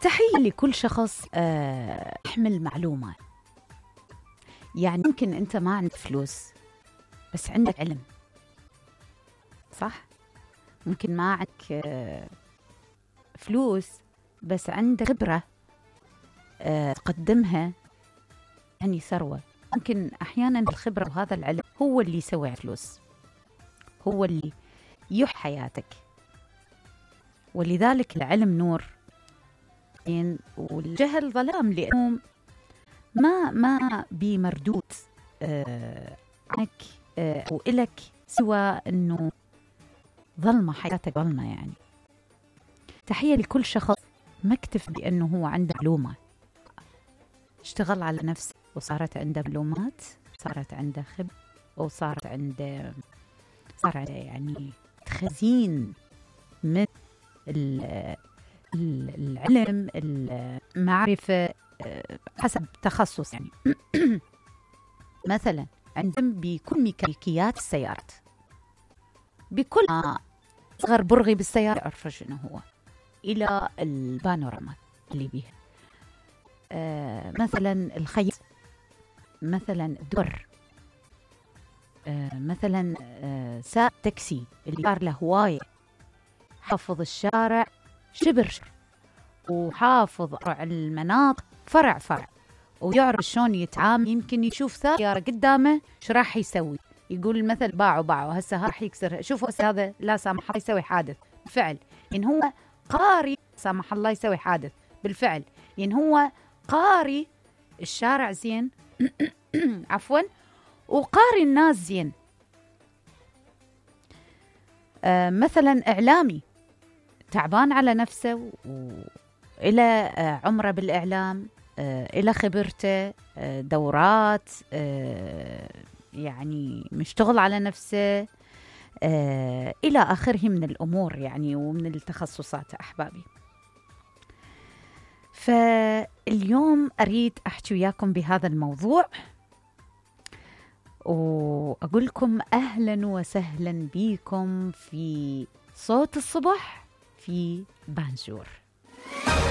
تحية لكل شخص يحمل معلومة. يعني ممكن أنت ما عندك فلوس بس عندك علم، صح؟ ممكن ما عندك فلوس بس عندك خبرة تقدمها، يعني ثروة. ممكن أحيانا الخبرة وهذا العلم هو اللي يسوي فلوس، هو اللي يحيي حياتك. ولذلك العلم نور والجهل ظلام، لأنه ما بمردود عنك أو إلك سوى أنه ظلمة، حياتك ظلمة. يعني تحية لكل شخص ما اكتفى بأنه هو عنده معلومة، اشتغل على نفسه وصارت عنده معلومات، صارت عنده خبرة، وصار عنده يعني خزين من العلم، المعرفة حسب تخصص. يعني مثلا عندهم بكل ميكانيكيات السيارات، بكل صغر برغي بالسيارة أعرف شنو هو، إلى البانوراما اللي بيها، مثلا الخيط، مثلا الدر، مثلا سائق تاكسي اللي صار له هواية، حافظ الشارع شبر، وحافظ المناطق فرع، ويعرف شلون يتعامل. يمكن يشوف سيارة قدامه شو راح يسوي، يقول المثل باعوا هسه راح يكسر، شوفوا هسه هذا لا سامح الله يسوي حادث بالفعل، إن هو قاري سامح الله يسوي حادث بالفعل، إن هو قاري الشارع زين عفوا، وقاري الناس زين. مثلا إعلامي تعبان على نفسه وإلى عمره بالإعلام، إلى خبرته، دورات، يعني مشتغل على نفسه، إلى آخره من الأمور يعني ومن التخصصات. أحبابي، فاليوم أريد أحكي وياكم بهذا الموضوع، وأقول لكم أهلا وسهلا بكم في صوت الصبح في بانجور.